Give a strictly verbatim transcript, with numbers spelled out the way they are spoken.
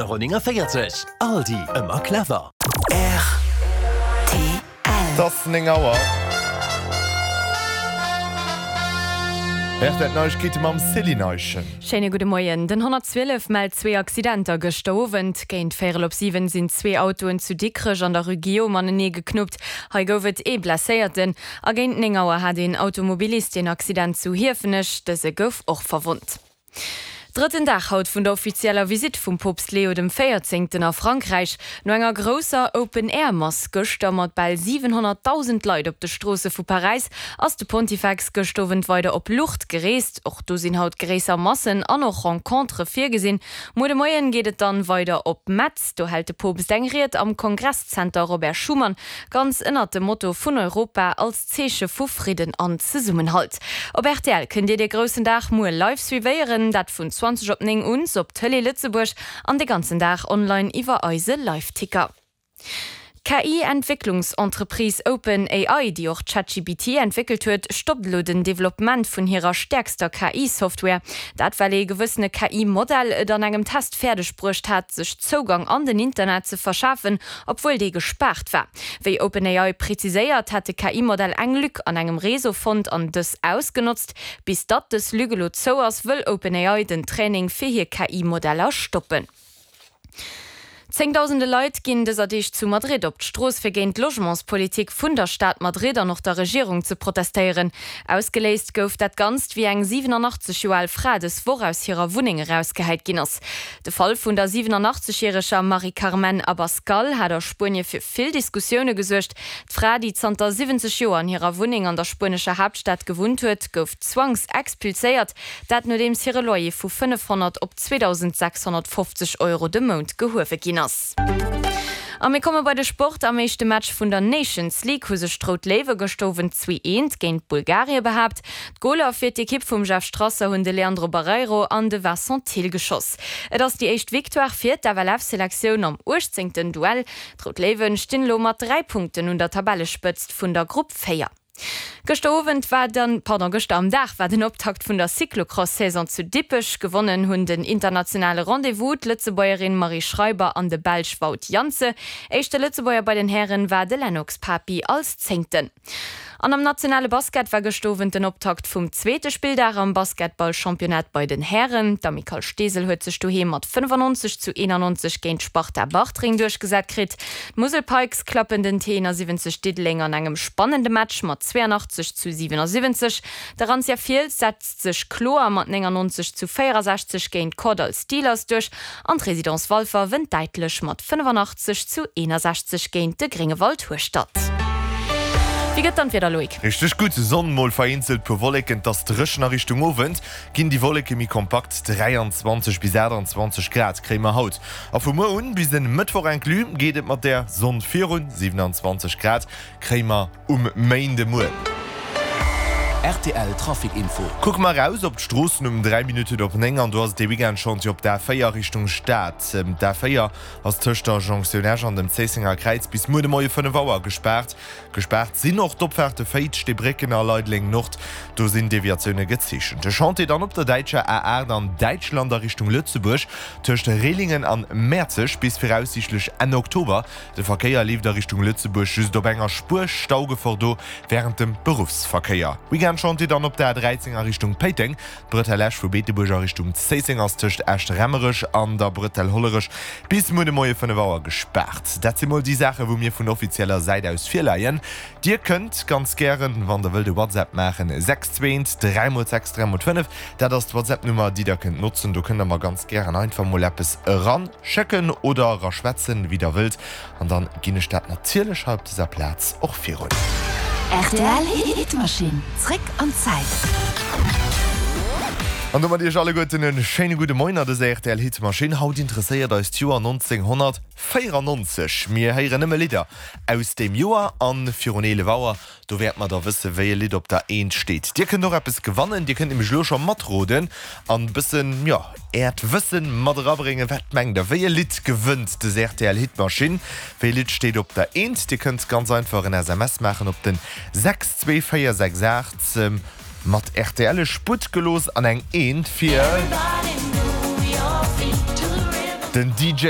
Euro néngavéierzeg. Aldi, ëmmer clever. R T L. Et ass néng Auer. R T L Neiegkeete mam Céline Eischen. Schéine gudde Moien. Den honnertzwielef mellt zwee Accidenter gëschter Owend. Géint véierel op siwen sinn zwee Autoen zu Dikrech an der Rue Guillaume anenee geknuppt. Hei gouf et ee Blesséierten. A géint néng Auer hat een Automobilist een Accident zu Hiefenech. Dëse gouf och verwonnt. Drëtten Dag haut vun der offizieller Visitt vum Poopst Leo dem Véierzéngten a Frankräich. No enger grousser Open-Air-Mass gëschter mat bal siwenhonnertdausend Leit op de Stroosse vu Paräis ass de Pontifex gëscht Owend weider op Lourdes gereest. Och do sinn haut gréisser Massen an och Rencontere virgesinn. Muer de Moien geet et dann weider op Metz. Do hält de Poopst eng Ried am Kongresszenter Robert Schuman, ganz ënnert dem Motto vun Europa als Zeeche vu Fridden an Zesummenhalt. Op R T L kënnt Dir dee groussen Dag muer live suivéieren, dat vun zwanzeg op néng un op Tëlee Lëtzebuerg an de ganzen Dag online iwwer eise Liveticker. D'K I-Entwécklungsentreprise OpenAI, déi och ChatGPT entwéckelt huet, stoppt elo den Developpement vun hirer stäerkster K I-Software. Dat well ee gewëssene K I-Modell et an engem Test fäerdeg bruecht hat, sech Zougang an den Internet ze verschafen, obwuel dee gespaart war. Wéi OpenAI preziséiert, hat de K I-Modell eng Lück an engem Réseau fonnt an dës ausgenotzt. Bis datt dës Lück elo zou ass, wëll OpenAI den Training fir hir K I-Modeller stoppen. Zéngdausende Leit ginn dëser Deeg zu Madrid op d'Strooss fir géint d'Logementspolitik vun der Stad Madrid an och der Regierung ze protestéieren. Ausgeléist gouf dat Ganzt wéi eng siwenanachtzeg Joer al Fra dës Woch aus hirer Wunneng erausgehäit ginn ass. De Fall vun der siwenanachtzeg järeger Mari Carmen Abascal hat a Spuenie fir vill Diskussioune gesuergt. D'Fra, déi zanter siwwenzeg Joer an hirer Wunneng an der spuenescher Haaptstad gewunnt huet, gouf zwangsexpulséiert, dat nodeems hire Loyer vu fënnefhonnert op zweedausendsechshonnertfofzeg Euro de Mount gehuewe ginn ass. A mir komme bei de Sport. Am éischte Match vun der Nations League hu sech d'Rout Léiwe gëschter Owend zwee eent géint Bulgarie behaapt. D'Goler fir d'Ekipp vum Jeff Strasser hunn de Leandro Barreiro an de Vincent Thill geschoss. Et ass déi éischt Victoire fir d'F L F-Selektioun am uechtzéngten Duell. D'Rout Léiwe stinn elo mat dräi Punkten un der Tabellespëtzt vun der Grupp véier. Gëschter Owend war dann, pardon, gëschter am Dag war den Optakt vun der Cyclocross-Saison zu Dippech. Gewonnen hunn den internationale Rendez-vous d'Lëtzebuergerin Marie Schreiber an de Belsch Wout Janssen. Éischte Lëtzebuerger bei den Hären war de Lennox Papi als Zéngten. An am nationale Basket war gëschter Owend den Optakt vum zweete Spilldag am Basketball-Championnat bei den Hären. D'Amicale Steesel huet sech doheem mat fënnefannonzeg zu eenannonzeg géint d'Sparta Bartreng duerchgesat kritt. D'Musel Pikes klappen den T eenasiwwenzeg Diddeleng an engem spannende Match mat zweeanachtzeg zu siwenasiwwenzeg. D'Arantia Fiels setzt sech kloer mat néngannonzeg zu véierasechzeg géint d'Kordall Steelers duerch an d'Residence Walfer wënnt däitlech mat fënnefannachtzeg zu eenasechzeg géint de Gréngewald Hueschtert. Wéi gëtt dann d'Wieder, Loïc? Richteg gutt, Sonn, mol vereenzelt puer Wolleken, 't ass dréchen. A Richtung Owend ginn déi Wolleke méi kompakt, dräianzwanzeg bis aachtanzwanzeg Grad kréie mer haut. A vu muer un bis en Mëttwoch inclus geet et mat der Sonn virun, siewenanzwanzeg Grad kréie mer um Méindemuer. R T L Trafic Info. Kucke mer eraus op d'Stroossen um dräi Minutten op néng an do ass et de Weekendchantier op der A véier Richtung Stad. D'A véier ass tëscht der Jonktioun Esch an dem Zéissenger Kräiz bis muer de Moie fënnef Auer gespaart. Gespaart sinn och d'Opfaarte Féiz, Steebrécken a Leideleng Nord, do sinn Deviatioune gezeechent. De Chantier dann op der däitscher A aacht an Däitschland a Richtung Lëtzebuerg tëscht Rehlingen an Mäerzeg bis viraussiichtlech Enn Oktober. De Verkéier leeft a Richtung Lëtzebuerg just op enger Spuer, Staugefor do wärend dem Beruffsverkéier. Weekendchantier dann op der A dräizéng a Richtung Péiteng. D'Bretelle Esch vu Beetebuerg a Richtung Zéisseng ass tëscht Esch-Remmerech an der Bretelle Hollerech bis muer de Moie fënnef Auer gespaart. Dat si mol déi Saache wou mir vun offizieller Säit aus virleien. Dir kënnt ganz gären, wann der wëllt, e WhatsApp maachen, sechs zwee eent dräi mol sechs dräi mol fënnef. Dat ass d'WhatsApp-Nummer déi der kënnt notzen. Do kënnt der mer ganz gären einfach mol eppes eran schécken oder eraschwätzen, wéi der wëllt. An dann ginn ech dat natierlech hei op dëser Plaz och virun. R T L Hitmaschinn, zréck an d'Zäit. An domat iech alleguerten e schéine gudde Moien an dëser R T L Hitmaschinn. Haut interesséiert eis d'Joer nonzénghonnertvéierannonzeg. Mir héieren nëmme Lidder aus deem Joer an virun eelef Auer, do wäerte mer da wësse wéi e Lidd op der Eent steet. Dir kënnt och eppes gewannen, dir kënnt nämlech elo scho matroden an bëssen, jo, äert Wëssen mat erabréngen. Wat mengt der, wéi e Lidd gewënnt des R T L Hitmaschinn? Wéi e Lidd steet op der Eent? Dir kënnt ganz einfach en S M S maachen op den sechs zwee véier sechs aacht mat R T L Sputt gelooss an eng Eent fir den D J.